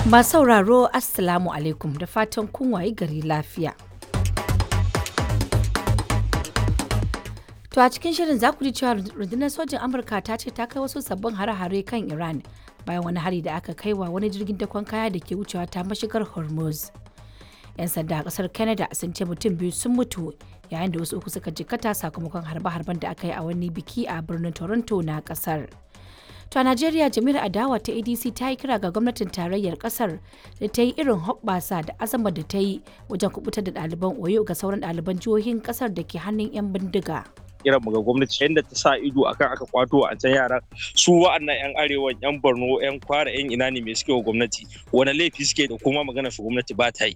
Masu sauraro, Assalamu alaikum, da fatan kun wayi gari lafiya. To a cikin shirin za ku ji cewa rundunar sojin Amurka ta ce ta kai wasu sabbin hare-hare kan Iran bayan wani hari da aka kai wa wani jirgin dakon kaya da ke wucewa ta mashigar Hormuz. 'Yan sanda a kasar Canada sun ce mutum biyu sun mutu yayin da wasu uku suka jikkata sakamakon harbe-harben da aka yi a wani biki a birnin Toronto na kasar. To a Najeriya, jami'ar adawa ta ADC ta yi kira ga gwamnatin tarayyar kasar da ta yi irin hoɓɓasa da azama da ta yi wajen kubutar da ɗaliban Oyo ga sauran ɗaliban jihohin kasar da ke hannun 'yan bindiga. Kiran mu ga gwamnati, yadda ta sa ido akan aka kwato a can yaran su, wa'annan yan arewan, yan Borno, yan Kwara, yan ina ne, me suke wa gwamnati? Wani laifi suke da kuma magana su gwamnati ba ta yi?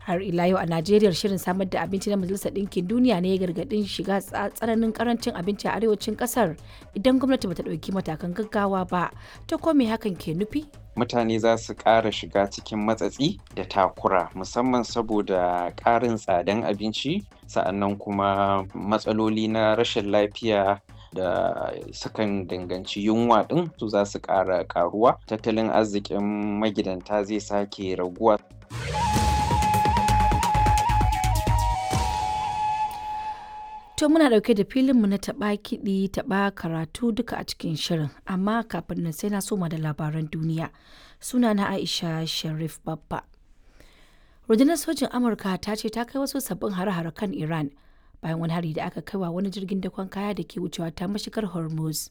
Har ila yau a Najeriya, shirin samar da abinci na Majalisar Ɗinkin Duniya ne ya gargaɗin shiga tsananin karancin abinci a arewacin ƙasar idan gwamnati bata ɗauki matakan gaggawa ba. Ta ko me hakan ke nufi? Mutane za su ƙara shiga cikin matsatsi da takura, musamman saboda ƙarin tsadan abinci, sa'annan kuma matsaloli na rashin lafiya da sukan danganci yunwa ɗin su za su ƙara ƙaruwa. Tattalin arzikin magidanta zai sake raguwa. To muna ɗauke da filinmu na taɓa kiɗi taɓa karatu duka a cikin shirin, amma kafin nan sai na soma da labaran duniya. Suna na Aisha Sharif Babba. Rundunar sojin Amurka ta ce ta kai wasu sabbin hare-hare kan Iran bayan wani hari da aka kai wa wani jirgin dakon kaya da ke wucewa ta mashigar Hormuz.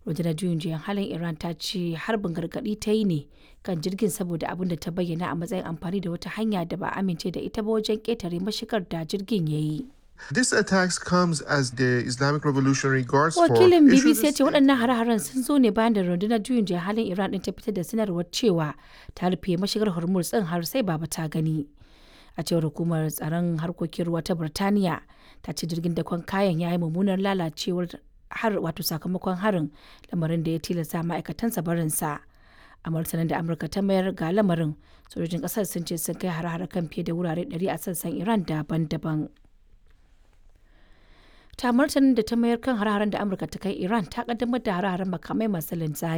Rundunar juyin juyan halin Iran ta ce harbin gargaɗi ta yi ne kan jirgin saboda abin da ta bayyana a matsayin amfani da wata hanya da ba a amince da ita ba wajen ƙetare mashigar da jirgin ya yi. This attacks comes as the Islamic Revolutionary Guards Force Wakilin issued BBC a ya ce waɗannan hare-haren sun zo ne bayan da rundunar juyin juya halin Iran ɗin ta fitar da sanarwar cewa ta rufe mashigar Hormuz ɗin har sai baba ta gani. A cewar hukumar tsaron harkokin ruwa ta Birtaniya, ta ce jirgin dakon kayan ya yi mummunar lalacewar har wato sakamakon harin, lamarin da ya tilasta ma'aikatansa barinsa. A martanin da Amurka ta mayar ga lamarin, sojojin ƙasar sun ce sun kai hare-hare kan fiye da wurare 100 a sassan Iran daban-daban. Ta martanin da ta mayar kan hare-haren da Amurka ta kai Iran, ta kaddamar da hare-haren makamai masu linzami.